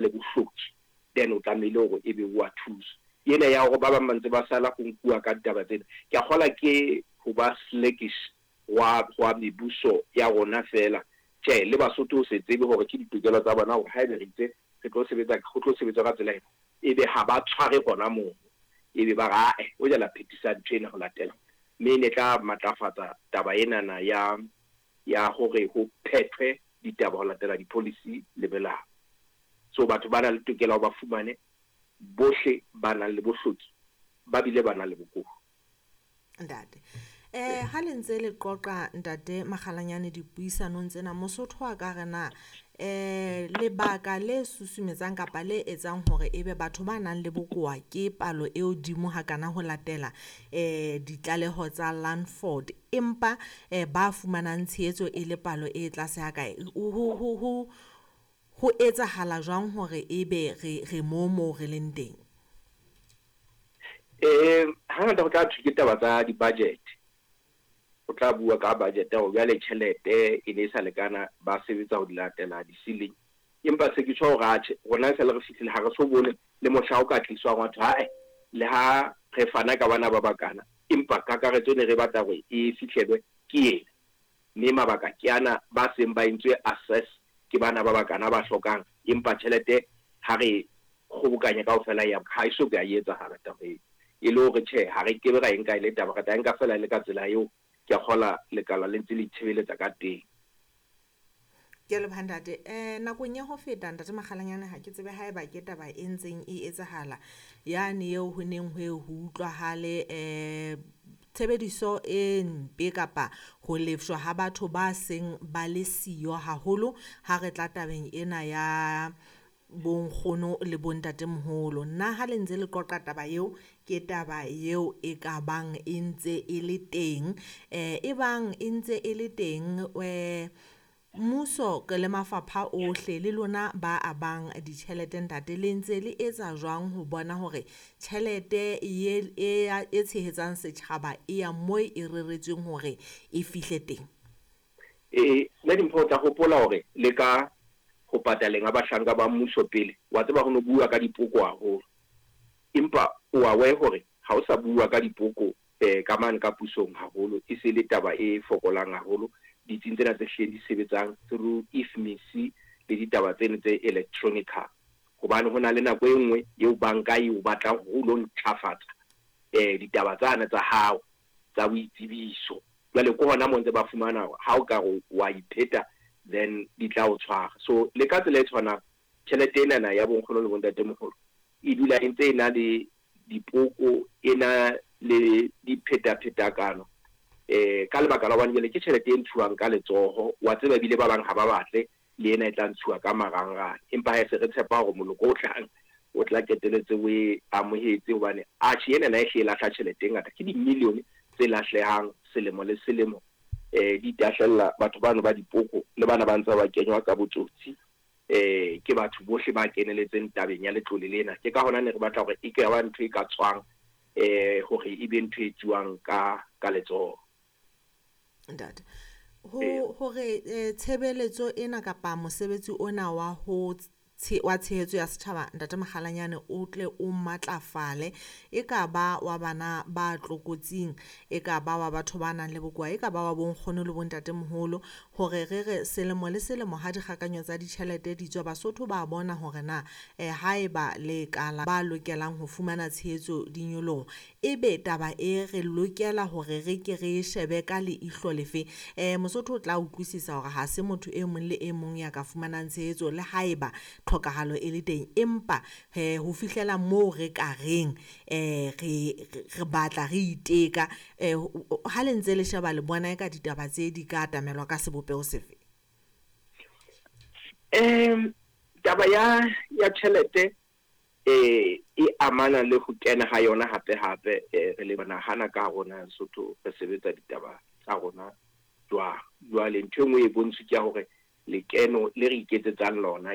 Le bohloki, then o tlamehile hore ebe o a thuswa. Ena ya hore ba bang ba ntse ba sala ho nkuwa ka ditaba tsena, ke a kgola ke ho ba sluggish hwa, hwa mebuso ya rona feela. Tjhe, le Basotho ho se tsebe hore ke ditokelo tsa bona hore haebe re itse re tlo sebetsa, ho tlo sebetswa ka tsela ena, ebe ha ba tshware hona mono. Ebe ba re, ae, hoja la phethisa ntho ena ho latela. Mme e ne tla matlafatsa taba enana ya, ya hore ho phethwe ditaba ho latela di-policy le melao. So batho ba na le tokelo ya hore ba fumane bohle ba nang le bohloki ba bile ba nang le bokowa. Ntate. Eh ha le ntse le qoqa Ntate Makgalanyane dipuisanong tsena, Mosotho a ka re na lebaka le susumetsang kapa le etsang hore ebe batho ba nang le bokowa ke palo e hodimo hakana ho latela ditlaleho tsa Landford, empa ba fumanang tshehetso e le palo e tlase hakae, ho etsahala jwang hore ebe re mo re leng teng? Hangata ho tla thwe ke taba tsa di-budget. Ho tla bua ka budget hore jwale tjhelete e ne e sa lekana, ba sebetsa ho di latela di-ceiling. Empa se ke tjho hore atjhe, rona e sale re fihlile ha re so bone le mohla o ka tliswang wa thwe hae le ha re fana ka bana ba bakana, empa kakaretso ne re batla hore e fihlelwe ke ena. Mme mabaka ke ana, ba seng ba entswe assess ke bana ba bakana ba hlokang, empa tjhelete ha re kgobokanya kaofela ya ha e so ka e etsahala taba eo. E le hore tjhe, ha re kebe ra e nka e le taba, re tla e nka feela e le ka tsela eo ke a kgola lekala le ntse le itshebeletsa ka teng. Ke a leboha ntate. Nakong ya ho feta Ntate Makgalanyane, ha ke tsebe haeba ke taba e ntseng e etsahala yane eo ho neng ho e ho utlwahale tshebediso e mpe kapa ho lefshwa ha batho ba seng ba le siyo haholo ha re tla tabeng ena ya bonkgono le bontatemoholo. Nna ha le ntse le qoqa taba eo, ke taba eo e ka bang e ntse e le teng. E bang e ntse e le teng, mmuso le mafapha ohle le lona ba abang ditjhelete ntate, le ntse le etsa jwang ho bona hore tjhelete e tshehetsang setjhaba e ya moo e reretsweng hore e fihle teng? Nna Dimpho o tla hopola hore le ka ho pataleng ha bahlanka ba mmuso pele, wa tseba ho no bua ka dipoko haholo. Empa o aware hore ha o sa bua ka dipoko ka mane ka pusong haholo, e se le taba e fokolang haholo ditsing tsena tse hlileng di sebetsang through IFMIS le ditaba tseno tse electronical. Hobane ho na le nako e nngwe eo banka e o batlang hore o lo ntlafatsa ditaba tsane tsa hao tsa boitsebiso. Jwale ke hona moo ntse ba fumana hore ha o ka re wa ipheta, then di tla o tshwara. So le ka tsela e tshwanang, tjhelete enana ya bonkgono le bontatemoholo e dula e ntse e na le dipoko, e na le diphetaphetakano ka lebaka la hobane jwale ke tjhelete e ntshuwang ka letsoho. Wa tseba ebile ba bang ha ba batle le ena e tla ntshuwa ka marangrang, empa ha e se re tshepa hore moloko o tlang o tla qetelletse o e amohetse, hobane atjhe ena na e hle e lahla tjhelete e ngata, ke di-million tse lahlehang selemo le selemo, di tahlella batho bano ba dipoko le bana ba ntse ba kenywa ka botsotsi ke batho bohle ba keneletseng tabeng ya letlole lena. Ke ka hona ne re batla hore e ka ba ntho e ka tswang hore e be ntho e tsuwang ka letsoho. Ntate, ho hore tshebeletso ena kapa mosebetsi ona wa ho wa tshehetso ya setjhaba Ntate Makgalanyane o tle o matlafale, e ka ba wa bana ba tlokotsing, e ka ba wa batho ba nang le bokowa, e ka ba wa bonkgono le bontatemoholo, hore re re selemo le selemo ha dikgakanyo tsa ditjhelete di tswa, Basotho ba bona hore na haeba lekala ba lokelang ho fumana tshehetso di nyoloha, ebe taba e re lokela hore re ke re shebe ka leihlo lefe? Mosotho o tla utlwisisa hore ha se motho e mong le e mong ya ka fumanang tshehetso le haeba tlhokahalo e le teng, empa ho fihlela moo re ka reng re batla re iteka, ha le ntse le sheba le bona eka ditaba tse di ka atamelwa ka sebopeho sefe? Taba ya tjhelete e amana le ho kena ha yona hape hape, re le nahana ka rona Lesotho re sebetsa ditaba tsa rona jwang. Jwale ntho e nngwe e bontshwe ke ya hore lekeno le re iketsetsang lona